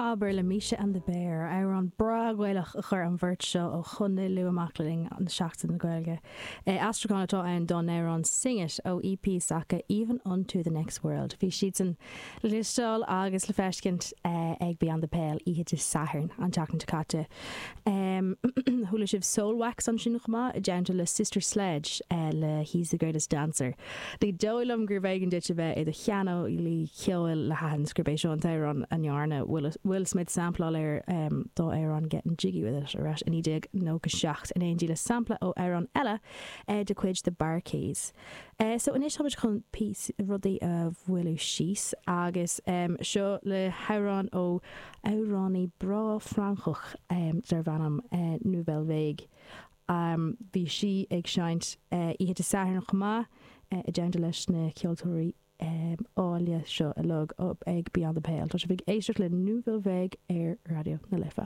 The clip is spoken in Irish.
Abair le Misha and the Bear, amhrán breá Gaelach a chuir an bheirt seo ó Chontae Lú amach le linn Seachtain na Gaeilge. Aistriúchán atá ann dá n-amhrán Sing It ó EP s'acu Even Unto the Next World. Bhí siadsan le cloisteáil agus le feiscint ag Beyond the Pale oíche Dé Sathairn an tseachtain seo caite. Chuala sibh Soulwax ansin chomh maith i dteannta le Sister Sledge le He's the Greatest Dancer. Ní dóigh liom gurbh éigean duit a bheith i do shaineolaí ceoil le haithint gurb é seo an t-amhrán a ndearna Will Smith sampláil air dá amhrán Gettin' Jiggy With It ar ais i 1997 in éindí le sampla ó amhrán eile de chuid The Bar-Kays. So anois táimid chun píosa rudaí a mhoilliú síos agus seo le hamhrán ó amhránaí breá Francach darb ainm Nouvelle Vague. Bhí sí ag seinnt oíche Dé Sathairn chomh maith i dteannta leis na ceoltóirí áille seo uilig ag Beyond the Pale. Tá sibh ag éisteacht le Nouvelle Vague ar Raidió na Life.